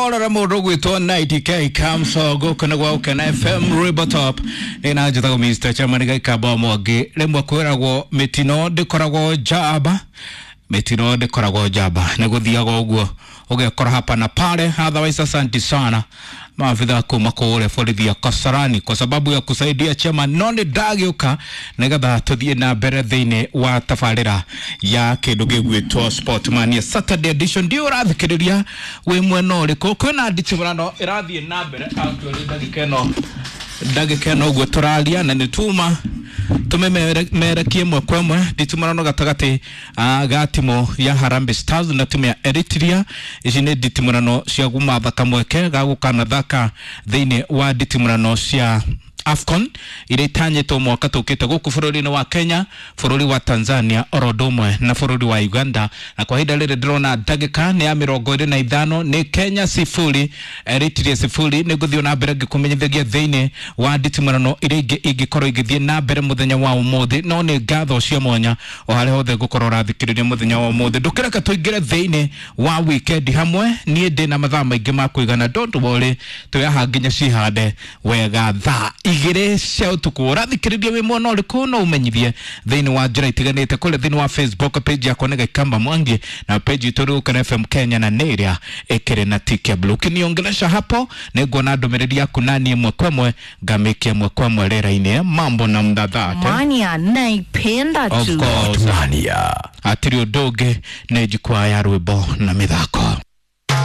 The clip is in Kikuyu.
Horora mũndũ gwĩtwo 90K Kamso gũkũ nĩ gwa Ũkena FM Rwĩmbo Top ĩna njĩtagwo Mr. Chairman Gaikamba Mwangi. Rĩmwe kwĩragwo mĩtino ndĩkoragwo njamba, mĩtino ndĩkoragwo njamba, nĩ gũthiaga ũguo ũgekora hapa na pale. Otherwise asante sana maafitha kuma kũrĩa borithi ya Kasarani kwa sababu ya kusaidia chama no nĩ ndagĩũka nĩgetha tũthiĩ na mbere thĩinĩ wa tabarĩra ya kĩndũ gĩgwĩtwo Sportmania Saturday edition. Ndiũ ũrathikĩrĩria wĩ mwena ũrĩkũ? Kwĩna nditimũrano ĩrathiĩ na mbere actually ndagĩka ĩno, ndagĩka ĩno ũguo tũraria na nĩ tuma tũmemerekie ĩmwe kwa ĩmwe nditimũrano gatagatĩ ga timu ya Harambee Stars na timu ya Eritrea. Ici nĩ nditimũrano cia gũmatha kamweke ga gũkanathaka thĩinĩ wa nditimũrano cia AFCON iria itanyĩtwo mwaka tũkĩte gũkũ bũrũri-inĩ wa Kenya, bũrũri wa Tanzania oro ũndũ ũmwe na bũrũri wa Uganda. Na kwa ihinda rĩrĩ ndĩrona ndagĩka nĩ ya 25, nĩ Kenya 0 Eritrea 0. Nĩ ngũthiĩ na mbere ngĩkũmenyithagia thĩinĩ wa nditimũrano iria ingĩ ingĩkorwo igĩthiĩ na mbere mũthenya wa ũmũthĩ, no nĩ ngatho cia mwanya o harĩa hothe ngũkorwo ũrathikĩrĩria mũthenya wa ũmũthĩ. Ndũkĩreke tũingĩre thĩinĩ wa weekend hamwe, niĩ ndĩ na mathaa maingĩ ma kũigana, don't worry, twĩ nginya cihande wega thaa 2 cia ũtukũ. Ũrathikĩrĩria wĩ mwena ũrĩkũ? No ũmenyithie thĩinĩ wa njĩra itiganĩte kũrĩa thĩinĩ wa Facebook page yakwa nĩ Gaikamba Mwangi na page itũ Rũkana FM Kenya na nĩ ĩrĩa ĩkĩrĩ na tick ya blue. Ũkĩniongelesha hapo nĩ nguona ndũmĩrĩri yaku nani ĩmwe kwa ĩmwe ngamĩkia ĩmwe kwa ĩmwe rĩera-inĩ. Mambo na mdathate Mania naipenda of tu. course Mania. hatirĩ ũndũ ũngĩ nĩ jukwaa ya rwĩmbo na mĩthako.